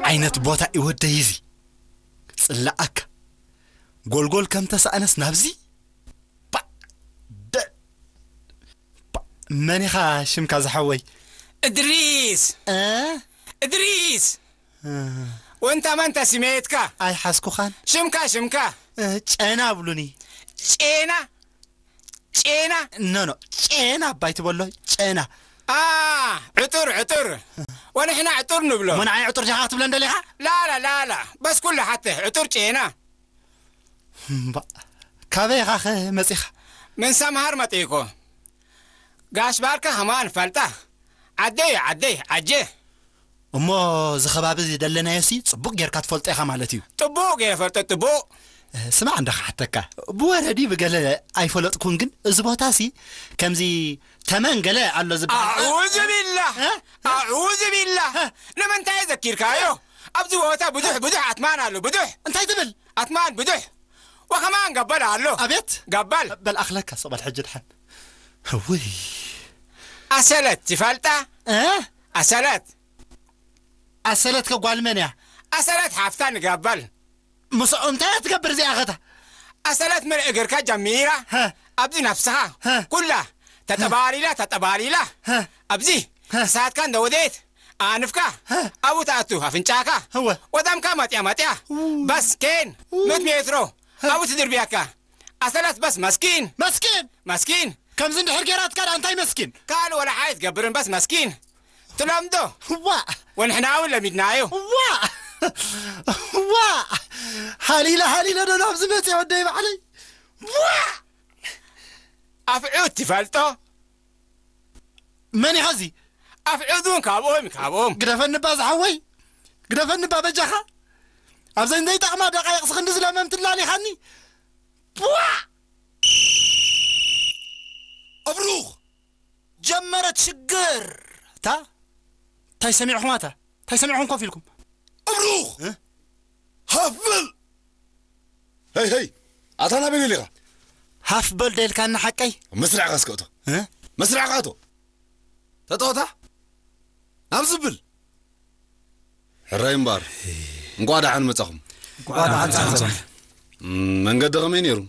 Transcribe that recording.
ዓይነት ቦታ እዩ ወደይ እዚ? ጽላኣካ ጎልጎል ከም ተሳእነስ ናብዚ? ባ ደ ባ መን ኢኻ ሽምካ ዝሓወይ? እድሪስ። እ? እድሪስ። እ። ወንታ መንታ ስሜትካ? ኣይሓዝኩኻን። ሽምካ ሽምካ? እ፣ ጨና ብሉኒ። ጨና? ጨና? ኖ ኖ፣ ጨና ኣባይ ትበሎ። ጨና። አ፣ ዕጡር ዕጡር። ወንሕና ዕጡር ንብሎ። እሞ ንዓይ ዕጡር ጃኻ ክትብለን ደሊኻ? ላላ ላላ፣ በስ ኩሉ ሓተ ዕጡር ጨና። እምባ፣ ካበይ ኢኻ ኸ መጺኻ? ምን ሰምሃር መጺእኮ። ጋሽ ባርካ ከማን ፈልጣ። ዓደይ ዓደይ ዓጀ። እሞ እዚ ከባቢ እዚ ደለናዮ ሲ ጽቡቕ ጌርካ ትፈልጦ ኢኻ ማለት እዩ። ጥቡቕ ገይረ ፈልጦ፣ ጥቡቕ። እ፣ ስማዕ እንዳ ክሓተካ፣ ብወረዲ ብገለ ኣይፈለጥኩን፣ ግን እዚ ቦታ ሲ ከምዚ ተመን ገለ ኣሎ ዝበሃል። ኣዑዙ ቢላህ፣ እ? ኣዑዙ ቢላህ። እ? ንምንታይ ዘኪርካዮ? ኣብዚ ቦታ ብዙሕ ብዙሕ ኣትማን ኣሎ፣ ብዙሕ። እንታይ ትብል? ኣትማን ብዙሕ። ወኸማን ገበል ኣሎ። ኣቤት። ገበል። በል ኣኽለካ፣ ስቕ በል ሕጂ ድሓን። ውይ። ኣሰለት ትፈልጣ? እ? ኣሰለት። ኣሰለት ከ ጓል መን እያ? ኣሰለት ሓፍታ ንገበል። ምስኡ እንታይ እያ ትገብር እዚኣ ኸታ? ኣሰለት ምን እግርካ ጀሚራ? ሀ። ኣብዚ ነፍስኻ ሀ። ኩላ ተጠባሊላ፣ ተጠባሊላ። ሀ። ኣብዚ ሀ። ክሳድካ እንደወደየት ኣንፍካ ሀ። ኣብኡ ትኣቱ፣ ኣፍንጫኻ እወ። ወዳምካ መጥያ መጥያ። ው። በስ ኬን ው። ምእት ሜትሮ ሀ። ኣብኡ ትድርብያካ። ኣሰለት በስ መስኪን። መስኪን? መስኪን። ከምዚ እንድሕር ጌራትካ ደኣ እንታይ መስኪን? ካልእ ወላ ሓይ ትገብርን በስ መስኪን። ትለምዶ። ዋእ! ወንሕና እውን ለሚድናዮ። ዋእ! ዋእ! ሃሊለ ሃሊለ ዶ ናብዚ መጽየ ወደይ ባዕለይ? ዋእ! ኣፍዑት ትፈልጦ? መን ኢኻ እዚ? ኣፍዑት እውን ካብኦም፣ ካብኦም። ግደፈኒ እባ ዝሓወይ። ግደፈኒ እባ በጃኻ። ኣብዘን ዘይጠቕማ ደቓይቕ ክንዲ ዝለመምቲ ኣላሊኻኒ። ዋእ! ኣብሩኽ! ጀመረት ሽግር። እታ እንታይ ሰሚዕኹም ኣታ? እንታይ ሰሚዕኹም ኮፍ ኢልኩም? ኣብሩኽ! እ? ሃፍ በል! ሄይ፣ ሄይ! ኣታ ናበይ ደሊኻ? ሃፍ በል ዶ ኢልካኒ ሓቀይ? መስርዕኻ እስከ እቶ። እ? መስርዕኻ እቶ። ተጠወታ? ናብ ዝብል። ሕራይ እምበኣር። እንቋዕ ደሓን መጻኹም። እንቋዕ ደሓን መጻኹም። እም፣ መንገዲ ከመይ ነይሩ?